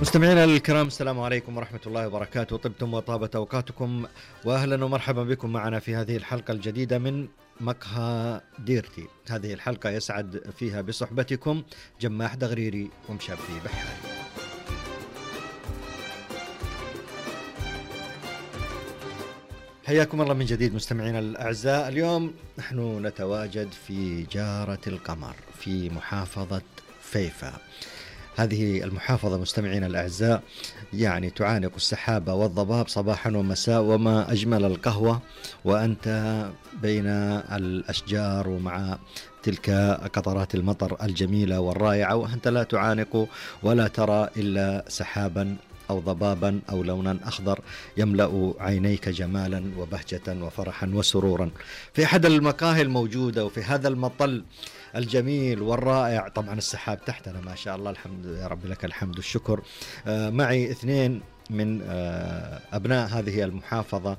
مستمعينا الكرام، السلام عليكم ورحمة الله وبركاته. طبتم وطابت أوقاتكم، وأهلا ومرحبا بكم معنا في هذه الحلقة الجديدة من مقهى ديرتي. هذه الحلقة يسعد فيها بصحبتكم جماح دغريري ومشابي بحاري. حياكم الله من جديد مستمعينا الأعزاء. اليوم نحن نتواجد في جارة القمر في محافظة فيفا. هذه المحافظة مستمعينا الأعزاء يعني تعانق السحابة والضباب صباحا ومساء، وما أجمل القهوة وأنت بين الأشجار ومع تلك قطرات المطر الجميلة والرائعة، وأنت لا تعانق ولا ترى إلا سحابا أو ضبابا أو لونا أخضر يملأ عينيك جمالا وبهجة وفرحا وسرورا. في أحد المقاهي الموجودة وفي هذا المطل الجميل والرائع، طبعا السحاب تحتنا ما شاء الله، الحمد يا رب لك الحمد والشكر. معي اثنين من أبناء هذه المحافظة،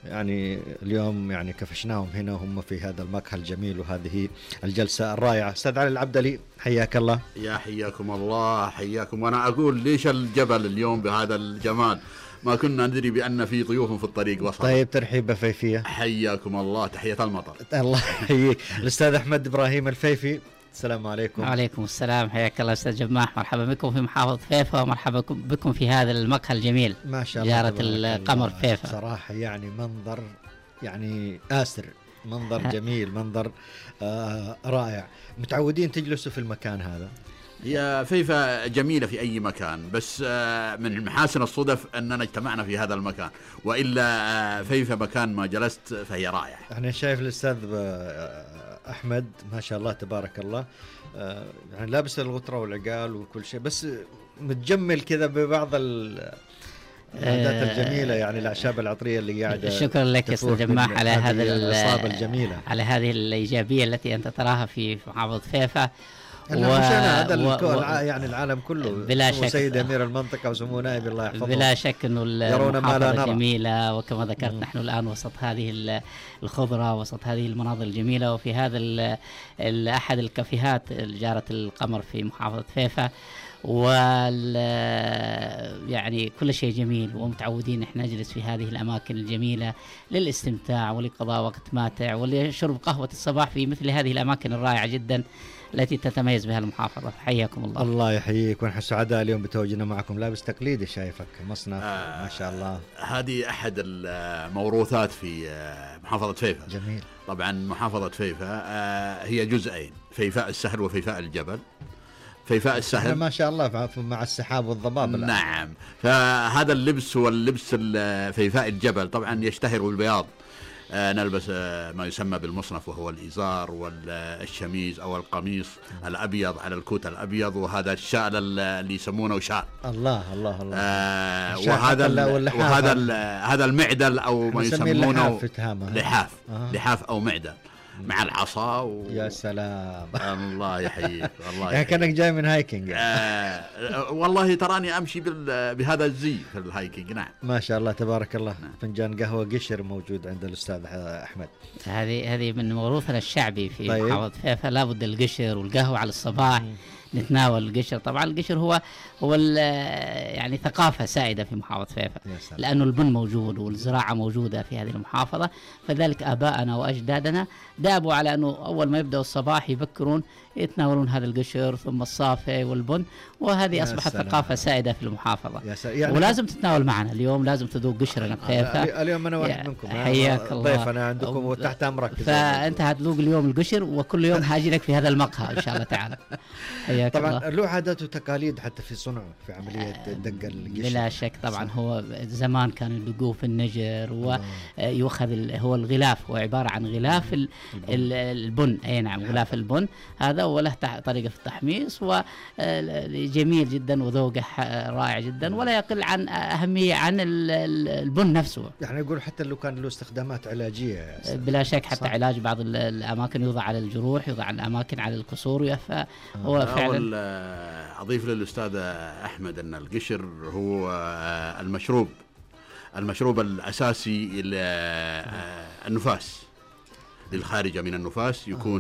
يعني اليوم يعني كفشناهم هنا وهم في هذا المقهى الجميل وهذه الجلسة الرائعة. أستاذ علي العبدلي حياك الله. يا حياكم الله، حياكم. وأنا أقول ليش الجبل اليوم بهذا الجمال؟ ما كنا ندري بأن في ضيوف في الطريق وصل. طيب ترحيبة فيفية. حياكم الله، تحية المطر. الله يحييك. الأستاذ أحمد إبراهيم الفيفي، السلام عليكم. وعليكم السلام، حياك الله أستاذ جماح، مرحبا بكم في محافظة فيفا ومرحبا بكم في هذا المقهى الجميل ما شاء الله. جارة القمر فيفا. صراحة يعني منظر يعني آسر، منظر جميل، منظر رائع. متعودين تجلسوا في المكان هذا؟ هي فيفا جميلة في أي مكان، بس من محاسن الصدف أننا اجتمعنا في هذا المكان، وإلا فيفا مكان ما جلست فهي رائعة. يعني شايف الأستاذ أحمد ما شاء الله تبارك الله، يعني لابس الغترة والعقال وكل شيء، بس متجمل كذا ببعض العادات الجميلة، يعني الأعشاب العطرية اللي قاعدة. شكرا لك يا أستاذ جماح على هذا الإصابة الجميلة، على هذه الإيجابية التي أنت تراها في محافظة فيفا. هذا يعني العالم كله بلا شك، سيد أمير المنطقة وسمو نائب الله يحفظه، بلا شك أنه المحافظة جميلة، وكما ذكرت نحن الآن وسط هذه الخضرة، وسط هذه المناظر الجميلة، وفي هذا أحد الكافيهات جارة القمر في محافظة فيفا. يعني كل شيء جميل، ومتعودين احنا نجلس في هذه الأماكن الجميلة للاستمتاع ولقضاء وقت ماتع ولشرب قهوة الصباح في مثل هذه الأماكن الرائعة جدا التي تتميز بها المحافظة. حياكم الله. الله يحييك، ونحن سعداء اليوم بتواجدنا معكم. لابس تقليدي شايفك، مصنف ما شاء الله. هذه أحد الموروثات في محافظة فيفا. جميل. طبعا محافظة فيفا هي جزئين، فيفاء السهل وفيفاء الجبل. فيفاء السهل ما شاء الله مع السحاب والضباب. نعم، فهذا اللبس هو اللبس فيفاء الجبل، طبعا يشتهر بالبياض. نلبس ما يسمى بالمصنف، وهو الإزار والشميز أو القميص الأبيض على الكوت الأبيض، وهذا الشال اللي يسمونه شال. الله الله الله. هذا المعدل أو ما يسمونه لحاف. لحاف أو معدل مع العصا يا سلام. الله يحييك. الله يعني كأنك جاي من هايكينج. والله تراني أمشي بهذا الزي في الهايكينج. نعم ما شاء الله تبارك الله. فنجان قهوة قشر موجود عند الأستاذ أحمد. هذه من موروثنا الشعبي في محافظة فيفا، لابد القشر والقهوة على الصباح. نتناول القشر. طبعا القشر هو يعني ثقافة سائدة في محافظة فيفا، لأنه البن موجود والزراعة موجودة في هذه المحافظة، فذلك آباءنا وأجدادنا دابوا على أنه أول ما يبدأوا الصباح يبكرون يتناولون هذا القشر ثم الصافي والبن، وهذه أصبحت ثقافة سائدة في المحافظة. يعني ولازم تتناول معنا اليوم، لازم تذوق قشرنا بفيفا. اليوم أنا واحد منكم، حياك الله، ضيفنا عندكم وتحت أمرك، فأنت هتذوق اليوم القشر، وكل يوم هاجي لك في هذا المقهى إن شاء الله تعالى. طبعا له عادات وتقاليد حتى في صنعه في عملية دق القشر. بلا شك طبعا صح. هو زمان كانوا يدقوه في النجر ويؤخذ هو الغلاف، هو عبارة عن غلاف البن. أي نعم، غلاف البن هذا، وله طريقة في التحميص وجميل جدا وذوقه رائع جدا، ولا يقل عن أهمية عن البن نفسه. يعني يقول حتى لو كان له استخدامات علاجية بلا شك، حتى صح. علاج بعض الأماكن، يوضع على الجروح، يوضع على الأماكن على الكسور، فهو فعلا. أضيف للأستاذ أحمد أن القشر هو المشروب الأساسي للنفاس، للخارجة من النفاس، يكون